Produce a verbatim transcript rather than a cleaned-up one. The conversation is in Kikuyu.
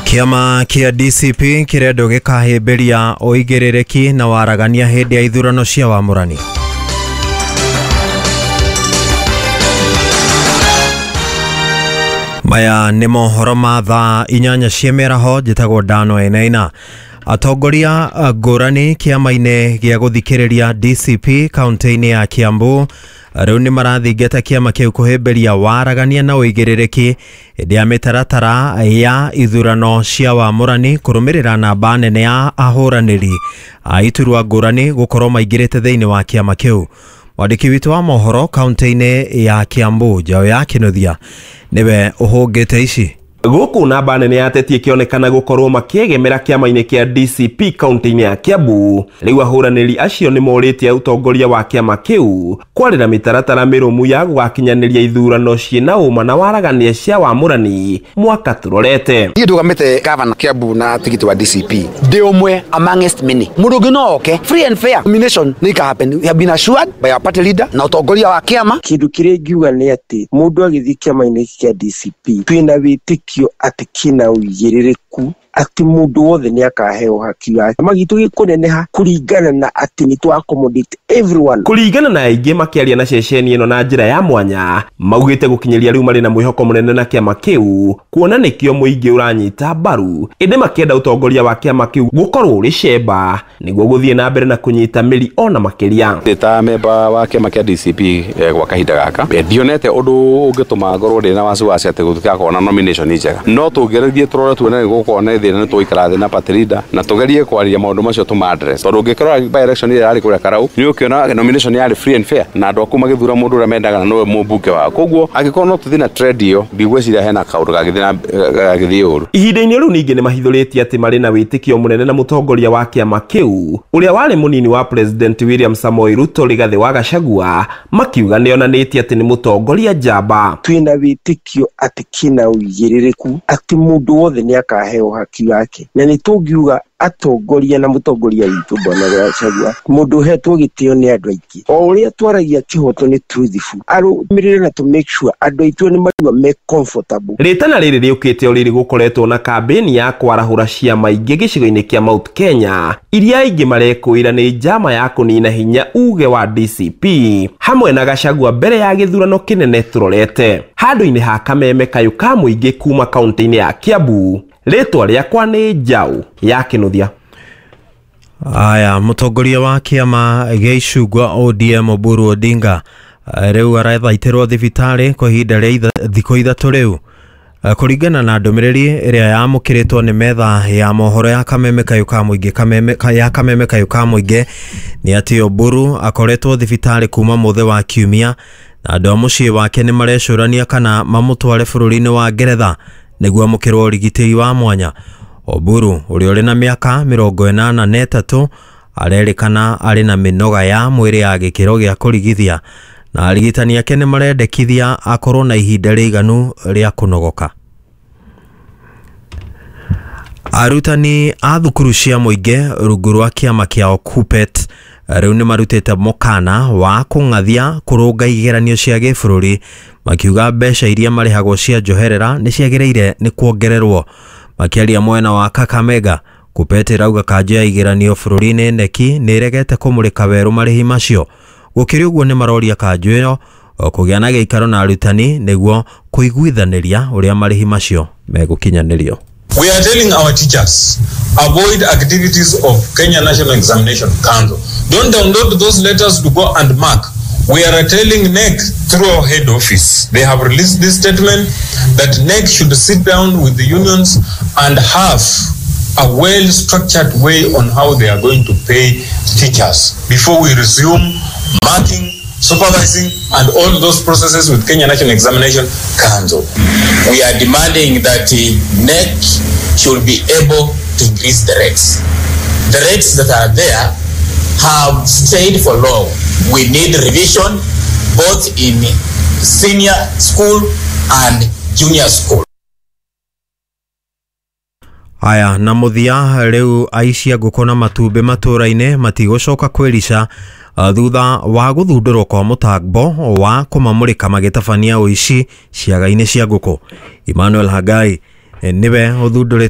Kĩama kĩa D C P kĩrendwo gĩkahĩmbĩria ũigĩrĩrĩki na waragania hĩndĩ ya ithurano cia wamũrani. Maya nĩ mohoro ma thaa inyanya cia mĩaraho. Njĩtagwo Dano Enaina. Atongoria ngũrani kĩama-inĩ gĩa gũthikĩrĩria D C P kaunti-inĩ ya Kiambu rĩu nĩ marathingata kĩama kĩu kũhĩmbĩria waragania na ũigĩrĩrĩki hĩndĩ ya mĩtaratara ya ithurano cia wamũrani, kũrũmĩrĩra namba nene ya ahũranĩri a iturwa ngũrani gũkorwo maingĩrĩte thĩinĩ wa kĩama kĩu. Mwandĩki witũ wa mohoro kaunti-inĩ ya Kiambu, Njaũ ya Kĩnuthia, nĩwe ũhũngĩte ici. Gũkũ namba nene ya ateti ĩkĩonekana gũkorwo makĩegemera kĩama-inĩ kĩa D C P kaunti-inĩ ya Kiambu, rĩu ahũranĩri acio nĩ morĩtie ũtongoria wa kĩama kĩu kwarĩra mĩtaratara mĩrũmu ya gũgakinyanĩria ithurano ciĩna ũma na waragania cia wamũrani mwaka tũrorete. Niĩ ndũgamĩte gavana Kiambu na tigiti wa D C P ndĩ ũmwe amongst many. Mũndũ ũngĩ no oke. Free and fair nomination nĩ ika happen. We have been assured by our party leader na ũtongoria wa kĩama. Kĩndũ kĩrĩa ingiuga nĩ atĩ mũndũ agĩthiĩ kĩama-inĩ gĩkĩ kĩa D C P, twĩna wĩtĩkio atĩ kĩna ũigĩrĩrĩku atĩ mũndũ wothe nĩ akaheo haki yake. Kĩama gitũ gĩkũneneha kũringana na atĩ nĩ twa accommodate everyone. Kũringana na aingĩ makĩaria na ceceni ĩno na njĩra ya mwanya, maugĩte gũkinyĩria rĩu marĩ na mwĩhoko mũnene na kĩama kĩu, kuona nĩkĩo mũingĩ ũranyita mbaru, ĩndĩ makĩenda ũtongoria wa kĩama kĩu gũkorwo ũrĩ cemba nĩguo gũthiĩ na mbere na kũnyita mĩri ona makĩria. Ndĩ ta memba wa kĩama kĩa D C P eh, gwa kahinda gaka, eh, ndionete ũndũ ũngĩtũma ngorwo ndĩ na wasiwasi atĩ gũtigakorwo na nomination njega. No tũngĩgerie tũrore tuone nĩ gũgũkorwo na thĩna, nĩ tũgũikara thĩ na party leader na tũgerie kwaria maũndũ macio tũma address, tondũ ũngĩkorora by election ĩrĩa yarĩ kũrĩa Karau, nĩ ũkĩona nomination yarĩ free and fair na andũ aku magĩthura mũndũ ũrĩa mendaga na nĩwe mũmbunge wao. Koguo angĩkorwo no tũthiĩ na trend ĩyo, ndigwĩciria hena kaũndũ gagĩthiĩ na gagĩthiĩ ũru. Ihinda-inĩ rĩu ningĩ nĩ mahithũrĩtie atĩ marĩ na wĩtĩkio mũnene na mũtongoria wa kĩama kĩu ũrĩa warĩ mũnini wa President William Samoei Ruto, Rigathĩ wa Gachagua, makiuga nĩonanĩtie atĩ nĩ mũtongoria njamba. Twĩna wĩtĩkio atĩ kĩna ũigĩrĩrĩku atĩ mũndũ wothe nĩ akaheo haki yake, na nĩ tũngiuga atongoria na mũtongoria witũ Bwana Gachagua, mũndũ ũhetwo gĩtĩo nĩ andũ aingĩ, o ũrĩa twaragia kĩhoto nĩ truthful, arũmĩrĩre na to make sure andũ aitũ nĩ marigua me comfortable. Rĩtana rĩrĩ rĩũkĩte o rĩrĩ gũkoretwo na kambĩni ya kwarahũra ciama ingĩ gĩcigo-inĩ kĩa Mount Kenya iria aingĩ marekũĩra nĩ njama ya kũnina hinya uge wa D C P hamwe na Gachagua mbere ya gĩthurano kĩnene tũrorete. Handũ-inĩ ha kameme kayũ ka mũingĩ kuma kaunti-inĩ ya Kiambu, rĩtwa rĩakwa nĩ Njaũ ya Kĩnuthia. Aya, mũtongoria wa kĩama gĩa icungwa O D M Oburu Odinga eh, rĩu arathaitĩrwo thibitarĩ kwa ihinda rĩa itha- thikũ ithatũ rĩu. Eh, kũringana na ndũmĩrĩri ĩrĩa yamũkĩrĩtwo nĩ metha ya mohoro ya kameme kayũ ka mũingĩ kameme, ka- ya kameme kayũ ka mũingĩ, nĩ atĩ Oburu akoretwo thibitarĩ kuma mũthĩ wa kiumia, na andũ a mũciĩ wake nĩ marecũrania kana mamũtware bũrũri-inĩ wa Ngeretha nĩguo amũkĩrwo ũrigitĩri wa mwanya. Oburu ũrĩa ũrĩ na mĩaka mĩrongo ĩnana na ĩtatũ arerĩkana arĩ na mĩnoga ya mwĩrĩ ya gĩkĩro gĩa kũrigithia, na arigitani ake nĩ marendekithia akorwo na ihinda rĩiganu rĩa kũnogoka. Arutani a thukuru cia mũingĩ rungu rwa kĩama kĩao KUPPET rĩu nĩ marutĩte mũkana wa kũng'athia kũrũnga igeranio cia gĩbũrũri, makiuga mbeca iria marĩhagwo cia njoherera nĩ ciagĩrĩire nĩ kuongererwo. Makĩaria mwena wa Kakamega, KUPPET ĩrauga kanjũ ya igeranio bũrũri-inĩ K N E C nĩ ĩregete kũmũrĩka werũ marĩhi macio. Gũkĩrĩ ũguo, nĩ maroria kanjũ ĩyo kũgĩa na gĩikaro na arutani nĩguo kũiguithanĩria ũrĩa marĩhi macio megũkinyanĩrio. We are telling our teachers, avoid activities of Kenya National Examination Council. Don't download those letters to go and mark. We are telling K N E C through our head office. They have released this statement that K N E C should sit down with the unions and have a well-structured way on how they are going to pay teachers before we resume marking, supervising, and all those processes with Kenya National Examination Council. We are demanding that the K N E C should be able to increase the rates. The rates that are there have stayed for long. We need revision both in senior school and junior school. Aya, na mũthia, rĩu aici a ngũkũ na matumbĩ matũũra-inĩ matigũcoka kwĩrica uh, thutha wa gũthundũrwo kwa mũtambo wa kũmamũrĩka magĩtabania ũici ciaga-inĩ cia ngũkũ. Emmanuel Hagai eh, nĩwe ũthundũrĩte.